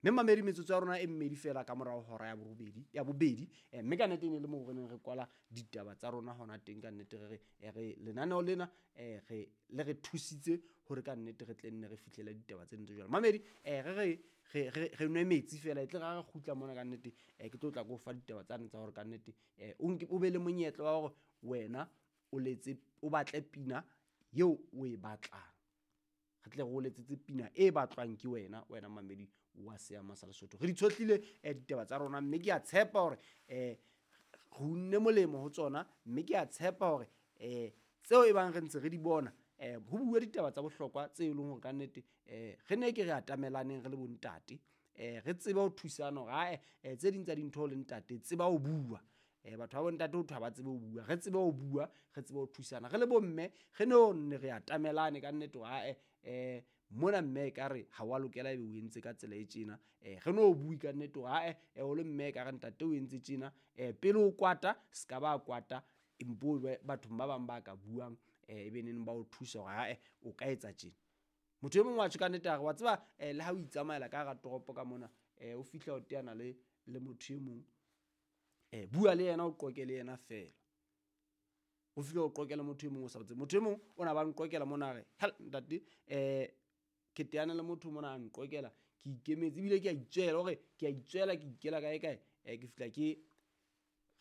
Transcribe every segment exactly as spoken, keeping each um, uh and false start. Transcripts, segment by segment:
Mme mamedi, metsotso ya rona e mmedi fela ka morao hora ya borobedi ya bobedi, eh, mme ka nnete e ne le moo re neng re kwala ditaba tsa rona hona teng. Ka nnete re re re lenaneo lena eh, re le re thusitse hore ka nnete re tle nne re fihlele ditaba tse ntse jwalo. Mamedi, eh, re re re re re nwe metsi fela, e tle ra re kgutla mona ka nnete, eh, ke tlo tla ko fa ditaba tsane tsa hore ka nnete eh, o nke o be le monyetla wa hore wena o letse, o batle pina eo o e batlang. Re tle re o letsetse pina e batlwang ke wena, wena mamedi wa Seama sa Lesotho. Re di tshohlile eh, ditaba tsa rona, mme ke a tshepa hore eh, re unne molemo ho tsona, mme ke a tshepa hore eh, tseo e bang re ntse re di bona, eh, ho bua ditaba tsa bohlokwa tse e leng hore ka nnete eh, re ne ke re atamelaneng re le bontate, eh, re tsebe ho thusana hore ae, eh, tse ding tsa dintho le ntate tseba ho bua. Eh, batho ba bontate ho thwe ha ba tsebe ho bua, re tsebe ho bua, re tsebe ho thusana. Re le bomme re no nne re atamelane ka nnete hore ae, eh, mona mme ekare ha wa lokela ebe o entse ka tsela e tjena. Eh, re no bue ka nnete hore ae, eh, o le mme ekare ntate o entse tjena. Eh, pele o kwata, se ka ba kwata, empo be bathong ba bang ba ka buang, eh, ebe neng ba o thusa hore ae, o ka etsa tjena. Motho e mong wa tjho ka nnete a re, wa tseba, eh, le ha o itsamaela ka hara toropo ka mona, eh, o fihla o teana le, le motho e mong, eh, bua le yena, o qoke le yena fela. O fihle o qoke le motho e mong o sa tsebe. Motho e mong o na ba nqokela mona a re, hel ntate, eh, ke teana le motho mona a nqokela, ke ikemetse ebile ke a itswela, hore ke a itswela, ke ikela kae kae, eh, ke fihla ke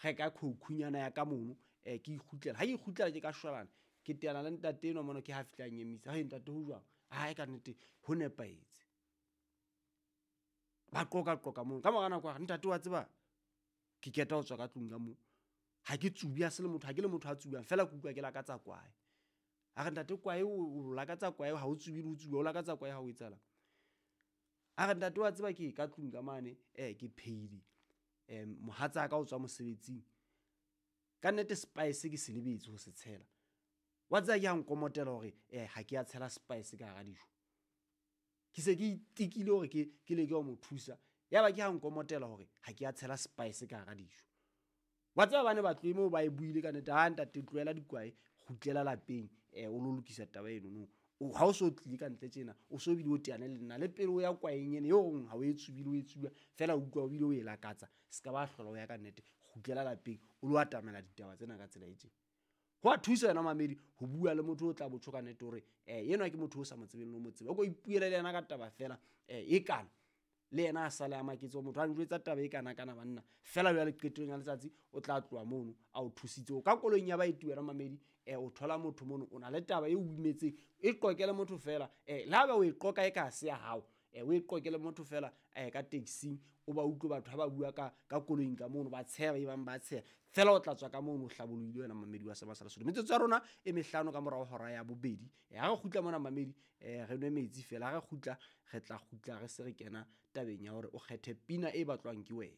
reka khoukunyana ya ka mono, eh, ke ikgutlela. Ha ke ikgutlela ke ka shwalane, ke teana le ntate enwa mona, ke ha fihla a nyemisa. Hei ntate, ho jwang? Hai, ka nnete ho nepahetse. Ba qoka qoka mono. Ka mora nako a re, ntate wa tseba, ke keta ho tswa ka tlung ka moo. Ha ke tsubi, ha se le motho, ha ke le motho a tsubang, fela ke utlwa ke lakatsa kwae. A re, ntate, kwae o, o lakatsa kwae, ha o tsube le ho tsuba, o lakatsa kwae ha o etsahalang? A re, ntate wa tseba, ke ka tlung ka mane, eh, ke phehile. Eh, mohatsaka o tswa mosebetsing. Ka nnete spice ke se lebetse ho se tshela. Wa tseba ke ha nkomotela hore, eh, ha ke a tshela spice ka hara dijo. Ke se ke itekile hore ke, ke leke ho mo thusa. Yaba ke ha nkomotela hore ha ke a tshela spice ka hara dijo. Wa tseba ba ne ba tlohe moo ba e buile ka nnete, ha ntate tlohela dikwae, kgutlela lapeng, eh, o lo lokisa taba eno no. O, ha o so tlile ka ntle tjena, o so bile o teane le nna, le pele o ya kwaeng ene, eo reng ha o e tsubile, o e tsuba, fela o utlwa o bile o e lakatsa, se ka ba hlola o ya ka nnete, kgutlela lapeng, o lo atamela ditaba tsena ka tsela e tjena. Ho a thusa yena mamedi ho bua le motho o tla botho ka nnete hore, eh, enwa ke motho o sa mo tsebeng le ho mo tseba. O ko ipuele le yena ka taba fela, eh, e kana. Le yena a sale a maketse hore motho a njwetsa taba e kana kana banna. Fela jwale qetellong ya letsatsi o tla tloha mono a o thusitse. O ka koloing ya baeti wena mamedi, eh, o thola motho mono, o na le taba e o imetseng, e qoqele motho fela, eh, le haeba o e qoka e ka se ya hao, eh, o e qoqele motho fela, eh, ka taxing, o ba utlwe batho ha ba bua ka, ka koloing ka mono, ba tsheha, ba bang ba tsheha. Fela o tla tswa ka mono o hlabollohile wena mamedi wa Seama sa Lesotho. Metsotso ya rona e mehlano ka morao hora ya bobedi. Eh, ha re kgutla mona mamedi, eh, re nwe metsi fela. Ha re kgutla, re tla kgutla re se re kena tabeng ya hore o kgethe pina e batlwang ke wena.